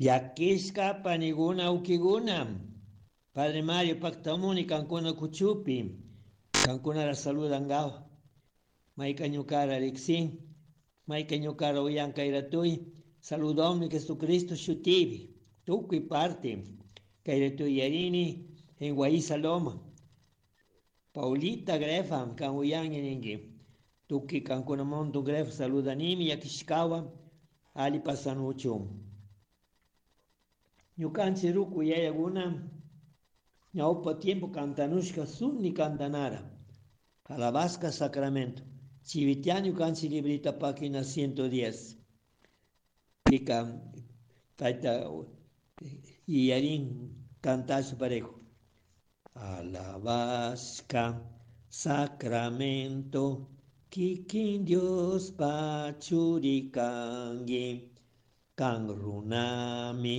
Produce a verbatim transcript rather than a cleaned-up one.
Llakishka paniguna ukiguna. Padre Mario paktamuni kankuna kuchupi. Kankunara saludangawa. Mayka ñukara riksin. Mayka ñukara uyan kayratuy. Saludomi Jesucristo shutibi. Tukuy parte. Kayratuy yarini en Guaíza Loma. Paulita Grefa kan uyangi ninki. Tukuy kankuna monto Grefa saludanimi llakishkawa. Ali pasanuchu. Ñukanchik ruku yayakuna ñawpa tiempo cantanushka sunni cantanara. Alabasca Sacramento. Chivitiano ñukanchik librita página ciento diez. Pika tayta iyarin cantasha parejo. Alabasca Sacramento kikin Dios pachurikangi kan runami